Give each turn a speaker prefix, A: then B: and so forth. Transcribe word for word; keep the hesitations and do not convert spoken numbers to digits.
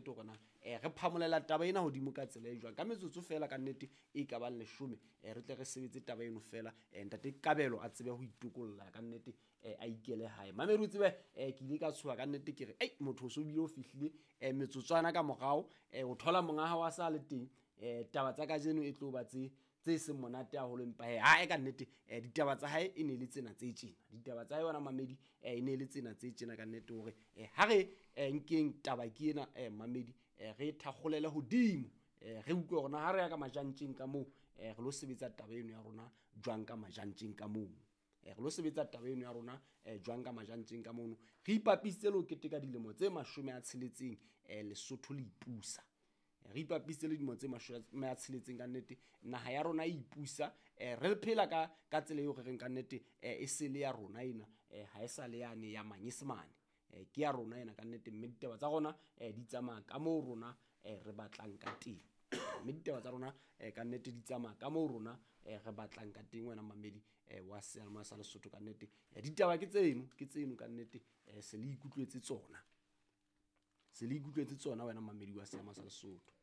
A: nnete hore na um re phamolela taba ena hodimo ka tsela e jwang. Ka metsotso fela ka nnete e ka bang leshome, um re tle re sebetse taba eno fela, um ntate Kabelo a tsebe ho itokolla ka nnete, um a ikele hae. Mamedi o tsebe um ke ile ka tshoha ka nnete, ke re ei motho o so bile o fihlile um metsotswana ka morao, um o thola monga hao a sa le teng. Um taba tsa kajeno e tlo ba tse tse seng monate haholo, empa hee hae ka nnete um ditaba tsa hae e ne le tsena tse tjena. Ditaba tsa hae wena mamedi um e ne le tsena tse tjena ka nnete, hore um ha re um nkeng taba ke ena um mamedi, um re thakgolele hodimo, um re utlwe hore na ha re ya ka majantjeng ka moo, um re lo sebetsa taba eno ya rona jwang ka majantjeng ka moo. Re lo sebetsa taba eno ya rona um jwang ka majantjeng ka mono. Re ipapisitse le ho keteka dilemo tse mashome a tsheletseng um Lesotho le ipusa. Re ipapisitse le dilemo tse mashome a tsheletseng ka nnete, naha ya rona e ipusa, um re phela ka ka tsela eo re reng ka nnete um e sele ya rona ena, um ha e sa le yane ya manyesemane, um ke ya rona ena ka nnete. Mme ditaba tsa rona um di tsamaya ka moo rona um re batlang ka teng, mme ditaba tsa rona um ka nnete di tsamaya ka moo rona um re batlang ka teng. Wena mamedi um wa seyalemoya sa Lesotho ka nnete, ditaba ke tseno, ke tseno ka nnete, um se le ikutlwetse tsona, se le ikutlwetse tsona wena mamedi wa seyalemoya sa Lesotho.